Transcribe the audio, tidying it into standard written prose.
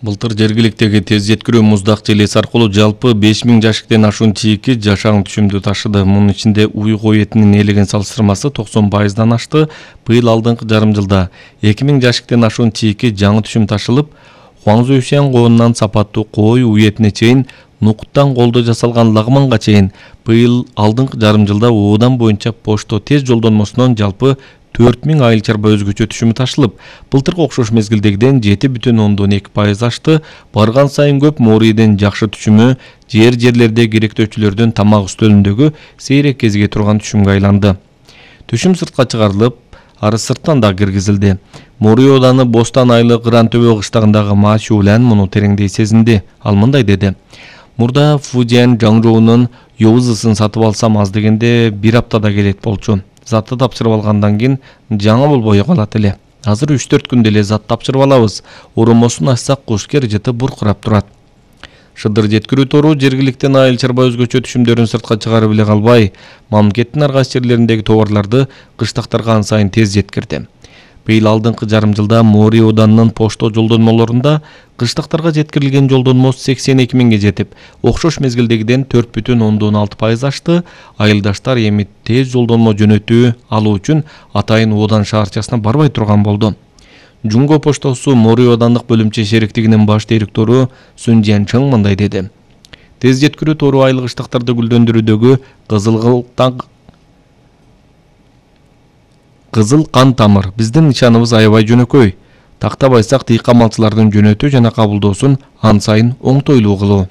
Былтыр жергиликтеги тез жеткирүү муздак желеси аркылуу жалпы 5000 жашиктен ашуун чийки жашаң түшүмдү ташыды. Мунун ичинде уй кой этинин ээлеген салыштырмасы 90%дан ашты. Быйыл алдыңкы жарым жылда 2000 жашиктен ашуун чийки жаңы түшүм ташылып, Хуаңзуйшен коонунан сапаттуу кой уй этине чейин, нукуттан колдо жасалган лагманга чейин быйыл алдыңкы жарым жылда оодан боюнча почто тез жолдонмосунан жалпы 4000 айыл чарба өзгөчө түшүмү ташылып, былтыркы окшош мезгилдегиден 7,2% ашты. Барган сайын көп Моорийден жакшы түшүмү жерлерде керектөөчүлөрдүн тамак үстөлүндөгү сейрек кезиге турган түшүмгө айланды. Түшүм сыртка чыгарылып, ары сырттан да киргизилди. Моорий ооданы Бостан айылы Кыран-Төбө кыштагындагы Маачулан муну тереңдей сезинди. Ал мындай деди: "Мурда Фудиан Жаңжоунун Йоузысын сатып алсам аз дегенде 1 аптада келет болчу. Затты тапшырып алгандан кийин жаңы болбой калат эле. Азыр 3-4 күндө эле зат тапшырып алабыз. Уромосун ачсак куш кережети буркурап турат." Шыдыр жеткирүү тору жергиликтен айыл чарба өзгөчө түшүмдөрүн сыртка чыгарып эле калбай, мамлекеттин ар кайсы жерлериндеги товарларды кыштактарга ан сайын тез жеткирди. Быйыл алдыңкы жарым жылда Моорий оданынын почто жолдонмолорунда кыштактарга жеткирилген жолдонмо 82 миңге жетип, окшош мезгилдегиден 4,6% ашты. Айылдаштар эми тез жолдонмо жөнөтүү алуу үчүн атайын Одан шаарчасына барбай турган болду. Жунго поштосу Моорий оодандык бөлүмчө шериктигинин баш директору Сүн Жианчың мындай деди: "Тез жеткирүү тору айыл кыштактарды гүлдөндүрүүдөгү кызыл кан тамыр. Биздин нышаныбыз аябай жөнөкөй. Тактабайсак, дыйкан малчылардын жөнөтүү жана кабылдоосун ан сайын оңтойлуу кылуу."